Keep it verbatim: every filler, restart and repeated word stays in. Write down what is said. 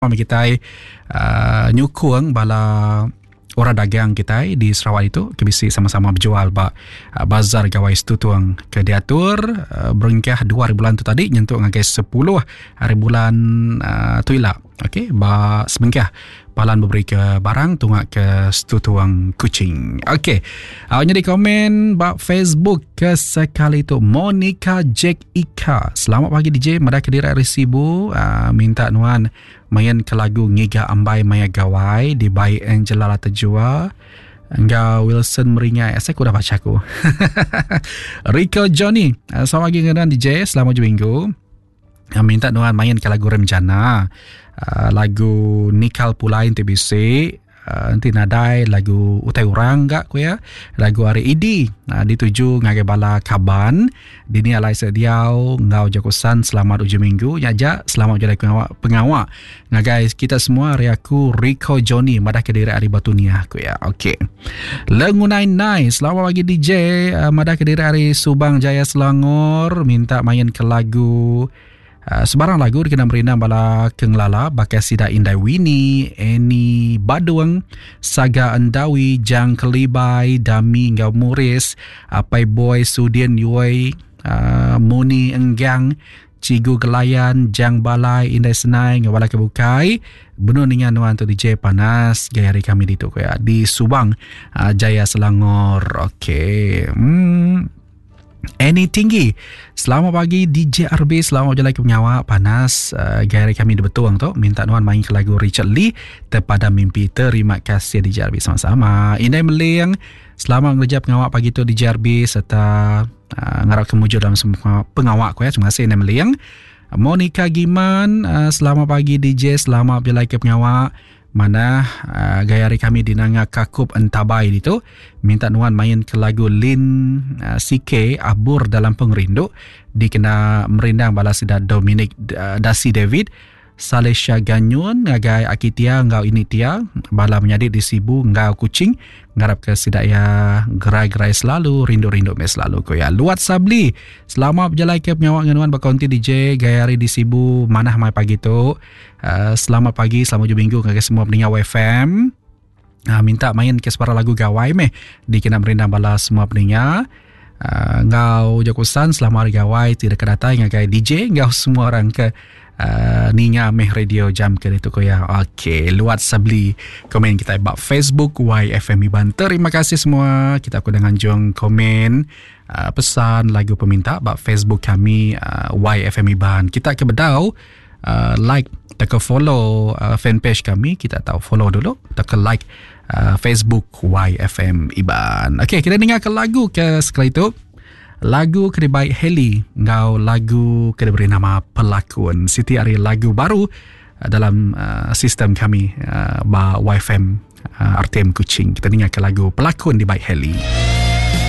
Kitai uh, nyukung bala orang dagang kitai di Sarawak itu ke bisi sama-sama berjual ba uh, Bazar Gawai Stutong ke diatur uh, berengkah dua hari bulan tu tadi nyentuk ngagai sepuluh hari bulan uh, tu ila. Okey, ba sebengkah palan beberi ke barang tunga ke Stutong Kuching. Okey. Uh, jadi komen ba Facebook ke sekali tu Monica Jack Ika. Selamat pagi D J, madah ke diri hari Sibu, uh, minta nuan main ke lagu Ngiga Ambai Maya Gawai di by Angela Latejua enggau Wilson Meringai. Saya aku dah baca aku. Rico Johnny, uh, selamat pagi dengan D J, selamat hujung minggu. Uh, minta nuan main ke lagu Remjana. Uh, lagu Nikal Pulai N T B C, uh, nanti nadai lagu Utai Urang gak ku ya. Lagu Hari Idi uh, dituju ngagai bala kaban dini alai sediau ngau jakusan selamat hujung minggu nyaja selamat berjalan pengawak, pengawak ngagai kita semua. Hari aku Rico Johnny madah ke diri hari Batu Niah ku ya. Okey. Lengunai Nai, selamat pagi D J, uh, madah ke diri hari Subang Jaya Selangor, minta main ke lagu Uh, sebarang lagu dikena merindang bala kengelala bakal sida Indai Winnie, Annie Badung, Saga Endawi, Jang Kelibai, Dami Ngau Muris, Apai Boy Sudin Yui, uh, Muni Enggang, Cigu Gelayan, Jang Balai, Indai Senai, Ngau Balai Kebukai. Benuh dengan nuan tu D J panas gaya hari kami di tu ya di Subang uh, Jaya Selangor. Okey. Hmm. Annie Tinggi, selamat pagi D J R B, selamat berjalan ke pengawak panas uh, gaya kami di Betuang tu, minta nuan main ke lagu Richard Lee Terpada Mimpi. Terima kasih D J R B, sama-sama. Indai Meling, selamat ngerja pengawak pagi tu D J R B serta uh, ngarap kemuju dalam semua pengawak ku ya. Terima kasih Indai Meling. Monica Giman, uh, selamat pagi D J, selamat berjalan ke pengawak. Mana uh, gaya hari kami di Nanga Kakup Entabai itu, minta nuan main ke lagu Lin uh, C K Abur Dalam Pengerindu dikena merindang bala sida Dominic uh, Dasi David Salesha Ganyun ngagai Akitia ngau Initia bala menyadi di Sibu ngau Kuching ngarap ke sida ya gerai-gerai selalu rindu-rindu mes selalu ko ya. Luat Sabli, selamat berjalan ke pengawak ngenuan berkonti D J gaya hari di Sibu manah mai pagi tu. Uh, selamat pagi, selamat hujung minggu ngagai semua pendengar Y F M. Uh, minta main ke separa lagu gawai meh dikena merindang bala semua pendengar. Uh, ngau jakusan selamat hari gawai tidak kedatai ngagai D J ngau semua orang ke Uh, ninga meh radio jam ke itu ko ya. Okey, luat sabli komen kita bab Facebook Y F M Iban. Terima kasih semua. Kita aku dengan jong komen uh, pesan lagu peminta bab Facebook kami uh, Y F M Iban. Kita ke bedau uh, like tak ke follow uh, fanpage kami, kita tahu follow dulu, tak ke like uh, Facebook Y F M Iban. Okey, kita dengar ke lagu ke sekali itu. Lagu ke dibaik Heli ngau lagu ke diberi nama Pelakon. Siti ari lagu baru dalam uh, sistem kami uh, ba Y F M uh, R T M Kuching. Kita dengar ke lagu Pelakon dibaik Heli.